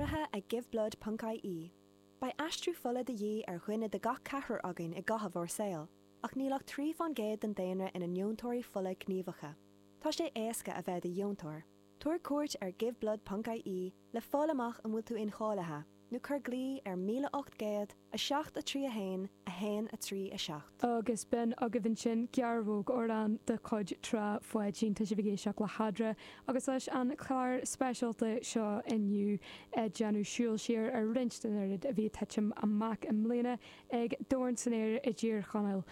Urraithe ag Giveblood ponc ie. Beidh aistriú fola de dhíth ar dhuine de gach ceathrar againn i gcaitheamh ár saoil, ach níl ach 3 fán gcéad den daonra ina ndeontóirí fola gníomhacha. Tá sé éasca a bheith i do dheontóir. Tabhair cuairt ar Giveblood ponc ie le fáil amach an bhfuil tú incháilithe, nó cuir glao ar 1800 7 3 1 1 3 7. Agus b'in agaibh ansin gearrthóg amhrán de chuid Trá Pháidín. Tá sibh ag éisteacht le hEadra agus leis an chlár speisialta seo inniu ag déanamh siúl siar ar roinnt den oiread a bhí ag titim amach i mbliana ag Dorn san Aer i dTír Chonaill.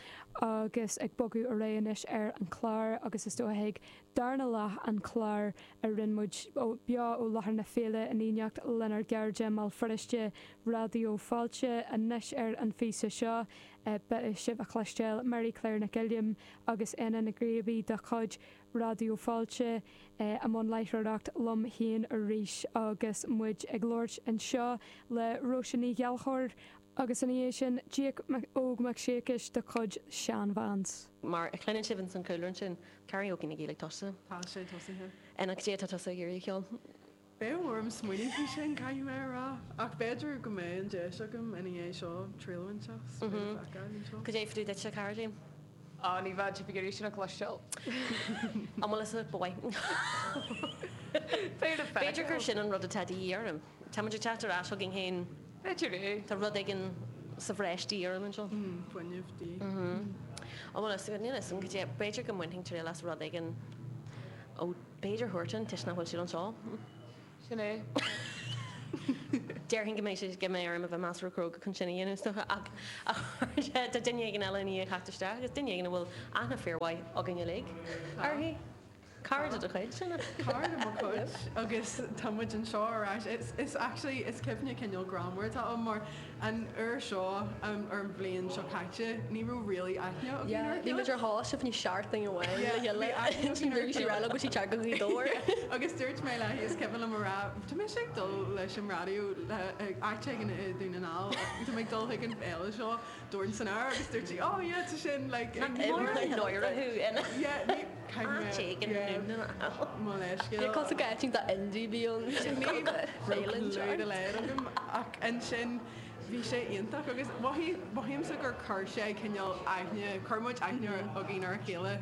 Agus ag bogadh ar aghaidh anois ar an chlár agus is dócha chuig darna leath an chláir a rinne muid beo ó láthair na féile in éineacht lenár gcairde i mBéal Feirste, Raidió Fáilte. Anois ar an phíosa seo beidh sibh a chloisteáil Mary Claire Nic Uilliam agus Éanna Nic Gríobaí de chuid Raidió Fáilte i mbun láithreoireacht liom féin arís agus muid ag labhairt anseo le Róise Ní Ghallchóir agus ina dhiaidh sin Jake Óg Mac Siacais de chuid Shan Vans. Mar a chluineann sibh ins an chúlra ansin, Karaoke na Gaeilge tosaithe. Tá sé tosaithe. Ina cad é atá tusa ag iarraidh a cheol? Beidh orm smaoineamh faoi sin, caithfidh mé a rá. Ach b'fhéidir go mbeidh an deis agam ina dhiaidh seo triail a bhaint as, beidh le feiceáil anseo. Cad é fá dtaobh duitse, a Charity? Á, ní bheadh sibh ag iarraidh sin a chloisteáil. An bhfuil fhios agat, ba mhaith. Beidh le feiceáil. B'fhéidir gur sin an rud atá de dhíth orm. Tá muid ag teacht ar ais chugainn féin. B'fhéidir é. Tá rud éigin sa bhreis de dhíth orm anseo. Fuinneamh de dhíth. An bhfuil fhios agat, níl fhios agam cad é, b'fhéidir go mbainfinn triail as rud éigin ó b'fhéidir Huartan toisc nach bhfuil siad anseo. Sin é. Déarfainn go mbeidh sé, go mbeidh orm a bheith measartha cróga chun sin a dhéanamh is dócha ach tá duine éigin eile i ndiaidh theacht isteach agus duine éigin a bhfuil aithne fíormhaith againn uilig uirthi. Cara de do chuid, sin ea? Cara de mo chuid agus tá muid anseo ar ais. Is, is actually, is cuimhne cineál greannmhar atá ann mar an uair seo, ar an bhliain seo caite, ní raibh really aithne againn Yeah, ar a bhí chéile. muid ar choláiste fá choinne seachtain amháin le Yeah, bhí chéile. aithne againn ar a Bhí sí chéile. rá go sí teanga Ghaoth Dobhair. Yeah, agus dúirt mé léi, is cuimhin liom a rá, tá mise ag dul leis an raidió le áit éigin i Dún na nGall, tá mé ag dul chuig an fhéile seo, Dorn san Aer agus dúirt sí, oh yeah, tá sin like Nach mór an náire thú ina Yeah, ní, caithfidh áit mé, éigin i yeah, nDún na nGall. mo leithscéal. Níor cosúil go áit iontach indie a bhí ann. Ní raibh Féile clue dá laghad agam ach ansin bhí sé iontach agus mhothaigh, mothaímse gur chuir sé cineál aithne, chuir muid aithne againn ar a chéile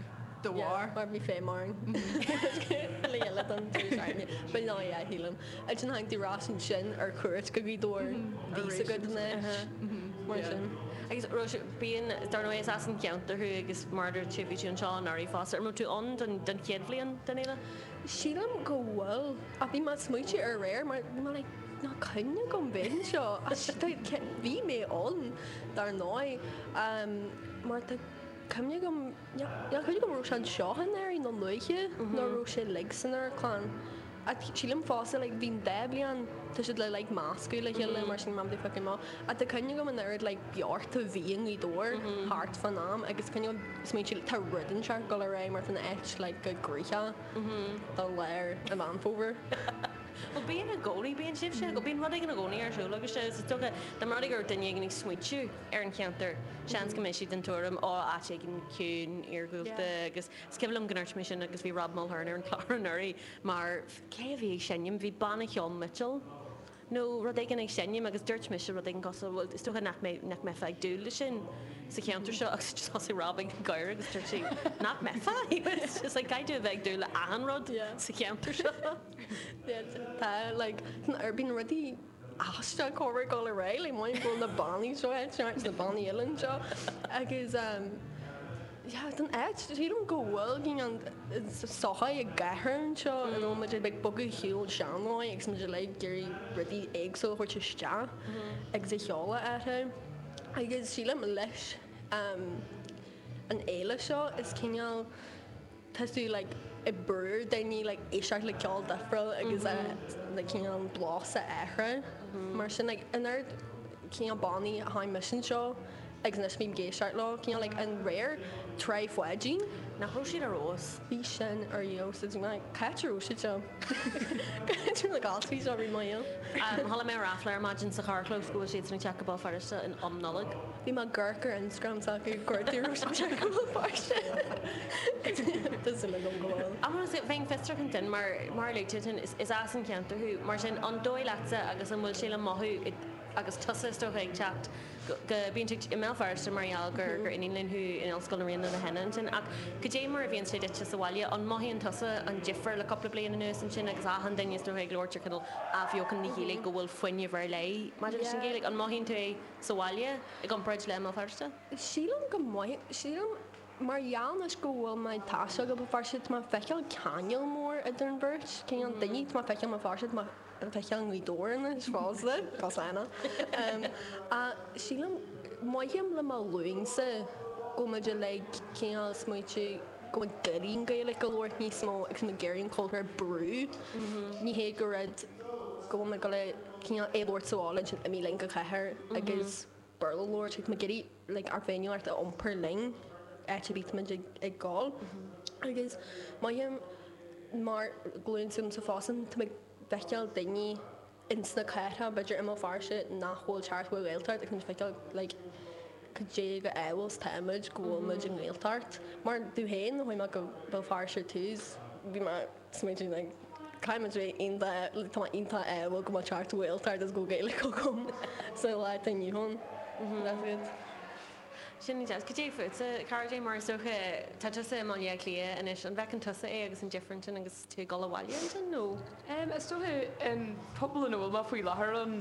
de bharr. Mar bhí feidhm orainn le chéile don deireadh seachtaine. But no, yeah, shílim. Ansin tháinig tú ar ais ansin ar cuairt go Gaoth Dobhair bhíos agat anois mar sin. Agus Róise, bíonn, dar ndóigh is as an cheantar thú agus mar a dúirt tú bhí tú anseo anuraidh fosta. An raibh tú ann don don chéad bhliain den fhéile? Sílim go bhfuil ach bhí mé ag smaointiú aréir mar bhí mé like níl cuimhne agam bheith anseo ach bhí mé ann dar ndóigh mar tá cuimhne agam Níl cuimhne agam an raibh sé anseo anuraidh nó luaithe nó an raibh sé uilig san amharclann. Ach sílim fosta like bhí an dá bhliain tá siad le like meascadh le chéile mar sin mam fucking maith. Ach tá cuimhne agam an oiread like beocht a bhí i nGaoth Dobhair thart fán am agus cuimhne agam smaointiú tá rud inteacht ag dul ar aghaidh mar tá an áit like go gnoitheach do lár an Mheán Fómhair. Bhuel bíonn i gcónaí, bíonn sibhse, bíonn rud éigin i gcónaí ar siúl agus is dócha dá mba rud é go raibh duine éigin ag smaointiú ar an cheantar, seans go mbeidh siad den tuairim, ó, áit éigin ciúin, iargúlta agus is cuimhin liom go ndúirt mé sin agus bhí Rob Mulhern ar an chlár anuraidh mar cé a bhí ag seinm, bhí banna cheoil Mitchell nó rud éigin ag seinm agus dúirt mise rud éigin cosúil, bhuel is dócha nach mbeidh, nach mbeifeá ag dúil leis sin sa cheantar seo agus just thosaigh Rob ag gáire agus dúirt sé, nach mbeifeá? He was just like, caithfidh tú a bheith ag dúil le achan rud sa cheantar seo. Yeah, tá like, bíonn rudaí aisteach chomh ag dul ar aghaidh like maith go bhfuil na bannaí seo anseo na bannaí eile anseo agus um yeah don áit sílim go bhfuil cineál sochaí ag athrú anseo you know muid ag bogadh shiúl sean-ndóigh agus muid like ag iarraidh rudaí éagsúla a thabhairt isteach agus a sheoladh orthu agus sílim leis um an fhéile seo is cineál tá tú like ag brú ar daoine like éisteacht le ceol difriúil agus like cineál an blas a athrú mar sin like an oiread cineál bannaí a tháinig mise anseo agus anois bím ag éisteacht leo cineál like an réir Trá Pháidín. Nach raibh siad ar fheabhas? Bhí sin ar fheabhas is like cá háit a raibh siad seo? Cá háit a raibh like. gcás faoi seo roimh mo shaol. Chuala mé ráfla ar maidin sa charrchlós go bhfuil siadsan ag teacht go Béal Feirste in um Nollag. Bhí mé ag amharc ar Instagram s'acu cuartú raibh siad ag teacht go Béal Feirste. Tá súil agam go bhfuil. Ach bheinn fiosrach ansin mar mar a luaigh tú ansin is as an cheantar thú mar sin an dóigh leatsa agus an bhfuil sé le mothú agus tusa is dócha ag teacht go bíonn tú i mBéal Feirste mar gheall gur gur iníon léinn thú in Ollscoil na Ríona le henna ansin ach cad é mar a bhíonn sé duitse sa bhaile an mothaíonn tusa an difear le cúpla bliain anuas ansin agus achan duine is dócha ag labhairt ar chineál athbheochan na Gaeilge go bhfuil fuinneamh ar leith maidir leis an Ghaeilge an mothaíonn tú é sa bhaile i gcomparáid le i mBéal Feirste? Sílim go mothaím sílim mar gheall anois go bhfuil mé ag taisteal go Béal Feirste tá mé ag feiceáil ceangal mór idir an bheirt cineál daoine tá mé ag feiceáil i mBéal Feirste tá mé ag feiceáil i nGaoth Dobhair anois fosta cosana ach sílim mothaím le mo ghlúinsa go bhfuil muid uilig cineál smaoitiú go bhfuil ag iarraidh an Ghaeilge a labhairt níos mó agus muid ag iarraidh an cultúr a brú ní hé go rud go bhfuil muid ag dul cineál é a labhairt sa bhaile ansin imigh linn go cathair agus Béarla a labhairt tá muid ag iarraidh like ár bhféiniúlacht a iompar linn áit ar bith muid ag gabháil agus mothaím mar glúin s'agamsa fosta tá mé ag feiceáil daoine ins na cathracha b'fhéidir i mBéal Feirste nach bhfuil teacht chuig Ghaeltacht agus muid ag feiceáil like cad é chomh ádhúil is atá muid go bhfuil muid i nGaeltacht mar domh féin nuair a chuaigh mé go Béal Feirste ar tús bhí mé smaointigh like caithfidh muid bheith iontach like tá mé iontach ádhúil go mbeadh teacht Ghaeltacht agus go bhfuil Gaeilge agam sa lá atá inniu ann. That's it. Sin deas. Cad é fútsa, Cara Jane, mar is dócha tá tusa i mBaile Átha Cliath anois, an bhfeiceann tusa é agus an difear ansin agus tú ag dul abhaile ansin nó? Is dócha an pobal ina bhfuil mé faoi láthair ann,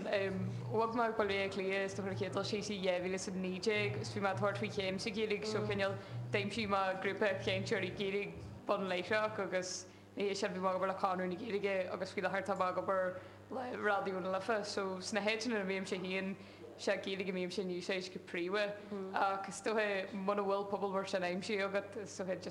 bhog mé go Baile Átha Cliath is dócha ar an chéad dul síos i 2019 agus bhí mé ag tabhairt faoi chéim sa Ghaeilge so cineál d'aimsigh mé grúpa cainteoirí Gaeilge bun láithreach agus ina dhiaidh sin bhí mé ag obair le Conradh na Gaeilge agus faoi láthair tá mé ag obair le Raidió na Life so sna háiteanna ina mbímse féin sé Gaeilge a bhímse in úsáid go príomha ach is dócha muna bhfuil pobal mar sin aimsithe agat is dócha just.